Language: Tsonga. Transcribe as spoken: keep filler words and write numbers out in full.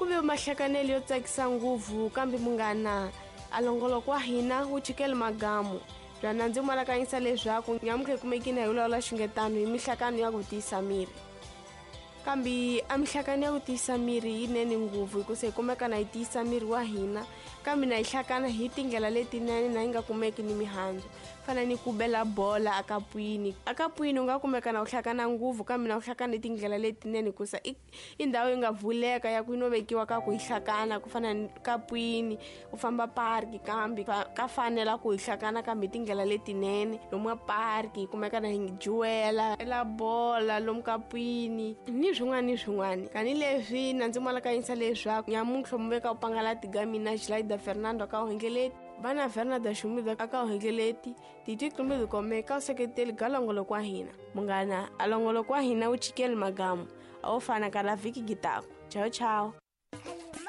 Ku ve mahlakanelo yo tsakisa ngopfu, kambe munghana a longoloko wa hina wu chikele magamu. Byana ndzi malakanyisa leswaku nyamutlha hi kumekile hi vulavula xingetano hi mihlakano ya ku tiyisa miri. Kambe a mihlakano ya ku tiyisa miri yinene ngopfu hikusa hi kumeka na yi tiyisa miri wa hina, kambe na yi hlakana hi tindlela letinene na yi nga kumeki ni mihandzu. Fana ni ku bela bola akapwini. Akapwini u nga kumeka na u hlakana ngopfu, kambe na u hlakana hi tindlela letinene hikusa i, i ndhawu yi nga vuleka ya ku yi no vekiwa ka ku hi hlakana, ku fana ni kapwini, u famba parki, kambe ka fanela ku hi hlakana kambe hi tindlela letinene. Lomu ka parki hi kumeka na hi juwela ela bola lomu kapwini ni swin'wana ni swin'wana. Tanihileswi na ndzi malakanyisa leswaku nyamuntlha mu veka u pangala tiga mina Gilaida Fernando ka Hengeleti, vana Fernando Xumida ka Hengeleti, titwi kumbe kome ka seketeli ga longoloko wa hina. Munghana a longoloko wa hina wu chikele magamu, a wo fana ka la vhiki gitako. Ciao ciao.